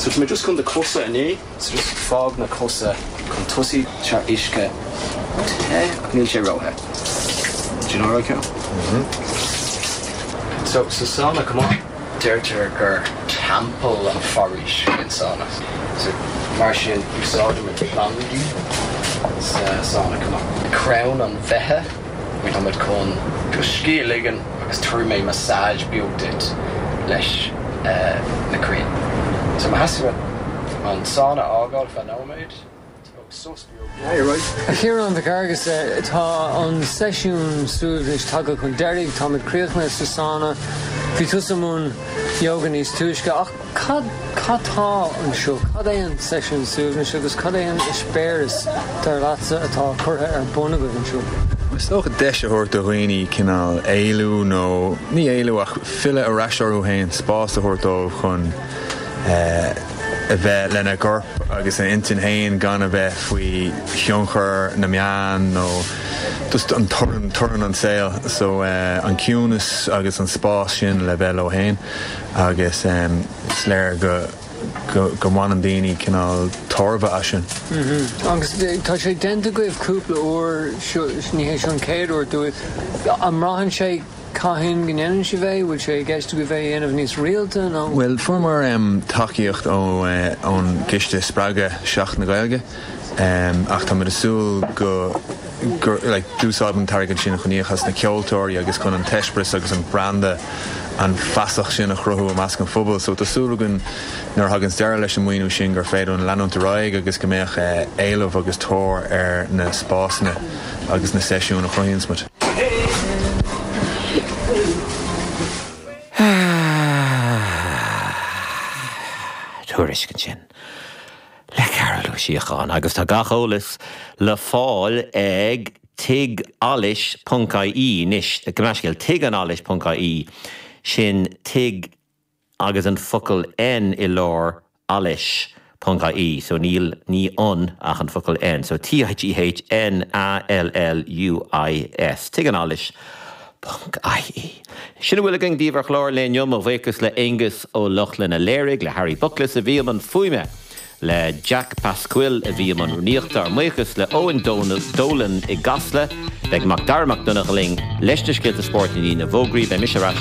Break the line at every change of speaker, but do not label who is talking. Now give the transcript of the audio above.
So tá mé just chun do chosa a ní, so just fág na cosa chun tosaigh tá uisce te ach níl sé róthe. Do you know what I can? So sa sauna chomh maith, deirtear gur teampall an foraois é an sauna. So mar sin úsáidimid plandaí sa sauna chomh maith. Crann an bheithe, tá muid chun just scíth a ligean agus tabharfaidh mé massage beag duit leis na crainn. So má theastaíonn uait an sauna a fhágáil feadh nóiméad, tóg sos beag. Yeah, you're right.
A Chiaráin Mhic Fhearghusa, tá an seisiún suaimhnis tagtha chun deiridh, táimid críochnaithe sa sauna. Bhí tusa i mbun yoga níos túisce ach cad, cad tá anseo? Cad é an seisiún suaimhnis agus cad é an eispéireas, dar leatsa, atá curtha ar bun agaibh anseo?
Is dócha deis a thabhairt do dhaoine cineál éalú nó, ní éalú ach filleadh ar ais orthu féin, spás a thabhairt dóibh chun a bheith lena gcorp agus a n-intinn féin gan a bheith faoi thionchar na meán nó just an torann, torann an tsaoil. So an ciúnas agus an spás sin le bheith leo féin agus is léir go go mbaineann daoine cineál tairbhe as sin.
Agus tá sé déanta agaibh cúpla uair, ní hé seo an chéad uair daoibh. An mbraitheann sé cathain go ndéanann sibh é? Bhfuil sé i gceist agaibh é a dhéanamh níos rialta nó?
Bhuel, fuaireamar tacaíocht ón gCiste Spreagadh Seachtain na Gaeilge ach táimid ag súil go gur like d'úsáid an t-airgead sin chun íoc as na ceoltóirí agus chun an t-eispéireas agus an branda, an feasacht sin a chruthú i measc an phobail. So tá súil againn nuair a thaganns deireadh leis an maoiniú sin gur féidir linn leanúint ar aghaidh agus go mbeadh éileamh agus tóir ar na spásanna agus na seisiúin a chruthaíonns muid.
Tuairisc ansin le Cearbhall Ó Síocháin agus tá gach eolas le fáil ag tighalluis ponc ie anois, gabh mo leithscéal, tighanallais ponc ie, sin tigh agus an focal N i lár allais ponc ie, so níl, ní an ach an focal N, so T-I-G-H-N-A-L-L-U-I-S, tighanallais ponc ie. Sin a bhfuil againn daoibh ar chlár an lae inniu, mo bhuíochas le Aonghus Ó Lochlainn a léirigh, le Harry Buckless a bhí i mbun fuaime, le Jack Pasquill a bhí i mbun rúnaíochta, ár mbuíochas le Eoin Dolan i gCasla. Beidh Mac Dara Mac Donncha linn leis na scéalta spóirt i ndiaidh na bhfógraí. Beidh mise ar ais.